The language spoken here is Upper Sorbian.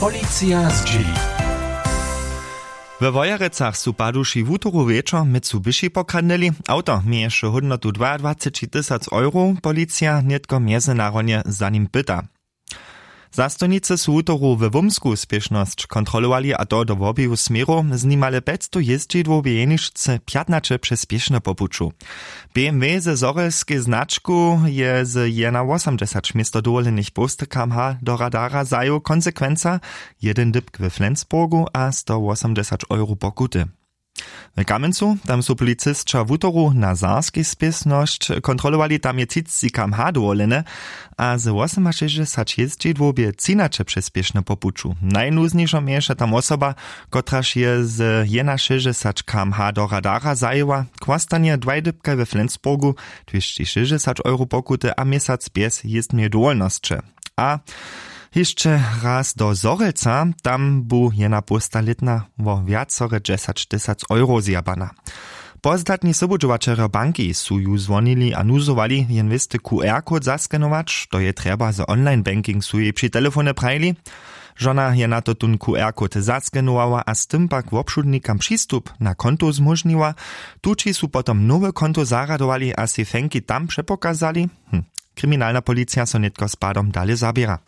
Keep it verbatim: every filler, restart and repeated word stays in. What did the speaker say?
Policija zdźěli. We Wojerecach su paduši wutoru wječor mycu byši pokradnyli. Awto měješe hódnotu dwaadwaceći tysac euro. Policija nětko mjezynarodnje za nim pyta. Zastojnicy su wutoru we Wómsku spěšnosć kontrolowali, a to do woběju směrow. Z nimale pjećstow jězdźidłow bě jeničce pjatnaće přez spěšne po puću. B M W ze zhorjelskej značku je z jena wosomdźesać město dowolenych połsty kmh do radara zajěł. Konsekwenca: jedyn dypk we Flensburgu a stowosomdźesać euro pokuty. W Kamjencu tam su policisća wutoru na zarskej spěsnosć kontrolowali. Tam je třiceći kmh dowolene, a z wosomašěsćdźesać jězdźidłow bě třinaće přez spěšne po puću. Najnuznjejšo měješe tam wosoba, kotraž je z jenašěsćdźesać kmh do radara zajěła. Chłastanje dwaj dypkaj we Flensburgu, dwěsći šěsćdźesać euro pokuty a měsac bjez jězbneje dowolnosće. A hišće raz do Zhorjelca. Tam bu jena połsta lětna wo wjacore dźesać tysac euro zjabana. Pozdatni sobudźowaćerjo banki su ju zwonili a nuzowali. Jen wěsty Q R kod zaskenować, to je trjeba za online banking, su jej při telefone prajili. Žona je na to tón Q R kod zaskenowała a z tym pak wobšudnikam přistup na konto zmóžniła. Tući su potom nowe konto zarjadowali a sej fenki tam přepokazali. Hm. Kriminalna policija so nětko z padom dale zaběra.